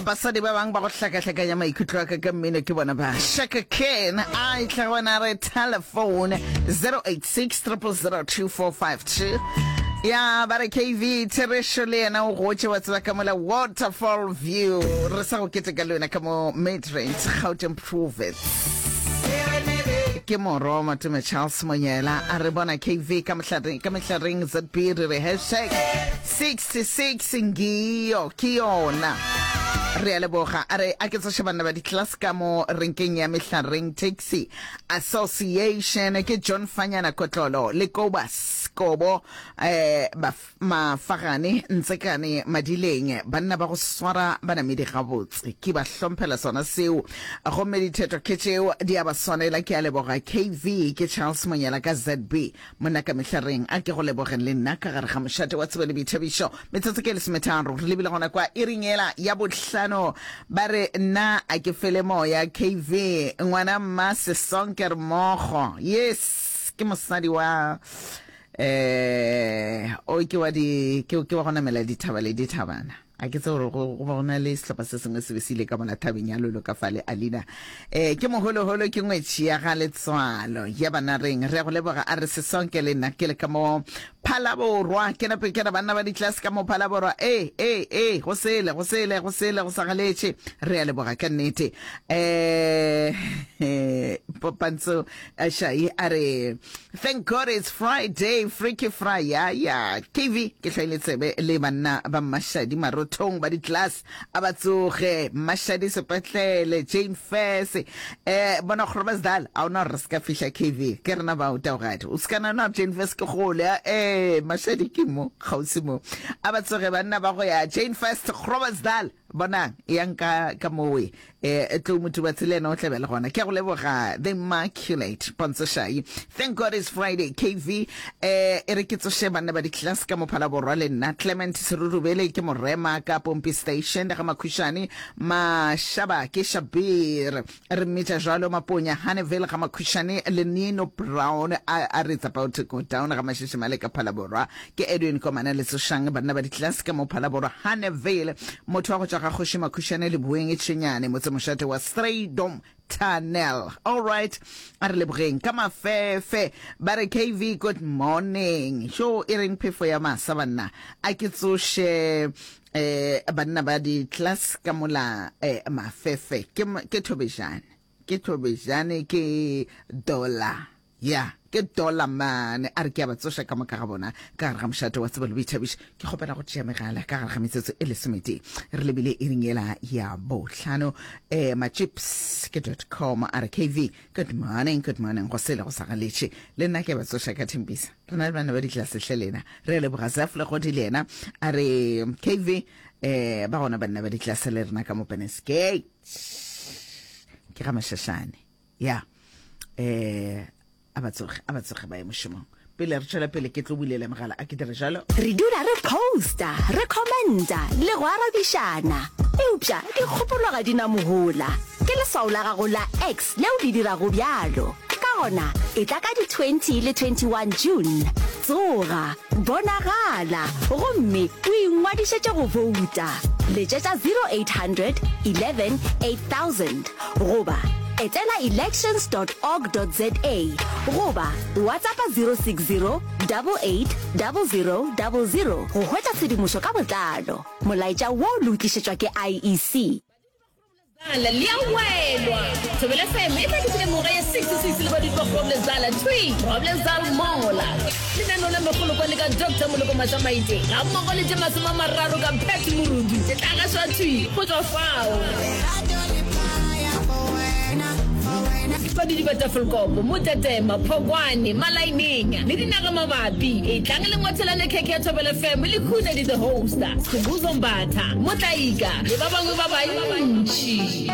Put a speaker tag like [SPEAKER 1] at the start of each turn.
[SPEAKER 1] Basadi ba bangwe ba go hlakahlakanya maikutlo a ka ka mmino ke bona ba Shaka Ken a etla gona re telephone 086 0002452 ya ba re KV Therešo le yena o gotše wa tseba ka mola Waterfall View re sa go keteka le wena ka mo Midrand Gauteng Province ke morwa wa Matome Charles Monyela a re bona KV ka mohlareng ka mehlareng ZB re re hashtag 66 ngiyo ke yona re a leboga a re a ke tsoše banna ba di-class ka mo renkeng ya mehlareng taxi association ke john fanyana kotlolo le kobas kobo eh, mafagane ntsekane madileng banna ba go swara banamedi gabotse ke ba hlomphela sona seo gomme ditheto ke tšeo di a ba swanela ke a leboga kv ke charles monyela ka zb Monna ka mehla reng a ke go lebogeng le nna ka gare ga mošate wa tsebo le boithabišo. Metsotso ke lesometharo re lebile gona kwa iring yela ya bohlano. Ba re nna a ke fele moya KV ngwana mma Sesonke re mmogo. Yes ke mosadi wa eh o ke wa di ke ke wa go namela dithaba le dithabana. A ke tsebe gore go go ba go na le sehlopha se sengwe se be se ile ka mola thabeng ya Lolo ka fale Alina. Eh ke moholoholo ke ngwetši ya ga Letswalo ya bana reng re ya go leboga a re sesonke le nna ke le ka mo Phalaborwa ke nape ke re banna ba ditlase ka mo Phalaborwa e e e go sele go sele go sele go sa galetše re ya leboga ka nnete eh Popantso Shai a re Thank God it's Friday, Freaky Fry, ya ya. KV, ke hlwaile tsebe le banna ba Mmashadi marothong ba di-class a ba tsoge. Mmashadi sepetlele, Jane Furse. Eh, bona Groblersdal, a ona gore re se ka fihla KV. Ke rena bao taogadi. O se ka nagana gore Jane Furse ke kgole, a eh, Mashadi ke mo, kgauswi mo. A ba tsoge banna ba go ya Jane Furse, Groblersdal. Bonang, eyang ka, ka mowe. E, Tlou Motubatsi le yena o tla be le gona. Ke a go leboga, The Immaculate Pontsho Shai. Thank God it's Friday, KV. E, e re ke tsoše banna ba di-class ka mo Phalaborwa le nna. Clement Serurubele ke morema ka Pompi Station ga Makhušane. Mashaba ke Shabir. Re mmitša jwalo Maponya Haneville ga Makhušane le Nino Brown a, a re it's about to go down ga Mashishimale ka Phalaborwa. Ke Edwin Komana le Tsošang banna ba di-class ka mo Phalaborwa Haneville. Motho wa go tšwa ga Kgoši Makhušane Leboeng Tšhenyane motsemošate wa Strydom Tunnel. All right, a re lebogeng ka mafefe. Ba re KV good morning. Sho e reng phefo ya masa banna. A ke tsoše eh banna ba di-class ka mola eh, mafefe. Ke ke Thobejane. Ke Thobejane ke Dollar. Ya, ke dollar mane. A re ke a ba tsoša ka moka ga bona ka gare ga mošate wa tsebo le boithabišo. Ke kgopela go tšea megala ka gare ga metsotso e lesometee. Re lebile iring yela ya bohlano. Eh, machips ke dot com. A re KV, good morning, good morning. Go sele go sa galetše. Le nna ke a ba tsoša ka Thembisa. Re na le bana ba ditlase hle lena. Re a leboga Zaf Legodi le yena. A re KV, eh, ba gona banna ba ditlase le rena ka mo Penesgate. Ke ga Mashashane. Ya. Eh, a ba tsoge, a ba tsoge ba ye mošomong. Pele re tšwela pele ke tlo bulela megala a ke dire jalo.
[SPEAKER 2] Re dula re posta, re commenta le go arabišana, eupša dikgopolo ga di na mohola. Ke leswao la gago la X leo le dirago bjalo. Ka gona, etla ka di 20 le 21 June. Tsoga, bonagala, gomme o ingwadišetše go bouta. Letšetša 0800 11 8000. Goba etela elections dot org dot za goba WhatsAppa 060 88 00 00 go hwetša tshedimošo ka botlalo. Molaetša wo le o tlišetšwa ke IEC.
[SPEAKER 3] Groblersdal le a welwa. Thobela FM e tla ke lemoga ya 66 le badudi ba Groblersdal thwi Groblersdal Mall. Lenaneo la Megolokwane ka Doctor Moloko Mašamaite gammogo le tše 30 ka Pat Morudu e tla gašwa thwi go tšwa fao. Badudi ba Tafelkop, Motetema, Phokwane, Malaineng le dinagamabapi, etlang le ngwathelane khekhe ya Thobela FM le Khunedi the Host, Skhumbuzo Mbatha, Motlaika le ba bangwe ba bantši.